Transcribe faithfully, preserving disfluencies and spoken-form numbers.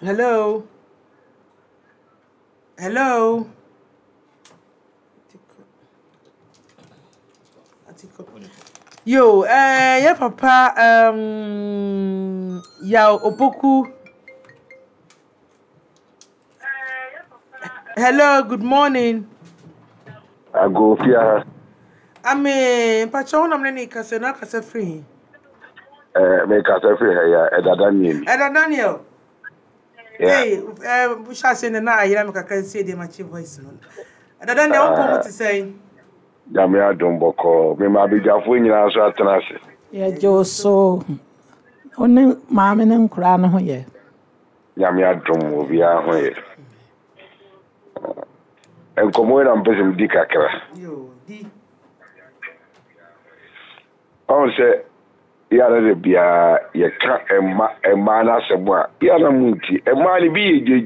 Hello, hello. Yo, eh, yɛ papa um, Yaw Opoku. Hello, good morning. Agofia. Ame, mpakyɛ wo nam ne ne kasa na kasa firi he? Eh, me kasa firi ha ya, Ɛda Daniel. Ɛda Daniel. Yeah. Hey, eh, hyɛ ase ne na ayera me kakra nsie deɛ makye voice no. Ɛda Daniel, wo mpɔ mu te sɛn? Nyame adom, bɔkɔɔ. Me ma abadwafoɔ nyinaa nso atena ase. Yɛgye wo so. Wo ne maame ne nkoraa no ho yɛ? Nyame adom, obiara ho yɛ. Nkɔmmɔ yi na mpɛ sɛ medi kakra. Yo, di. Ɔhu sɛ yɛara de biara yɛka ɛma ɛmaa no asɛm a yɛara mu nti ɛmaa no bi yɛ gyegye.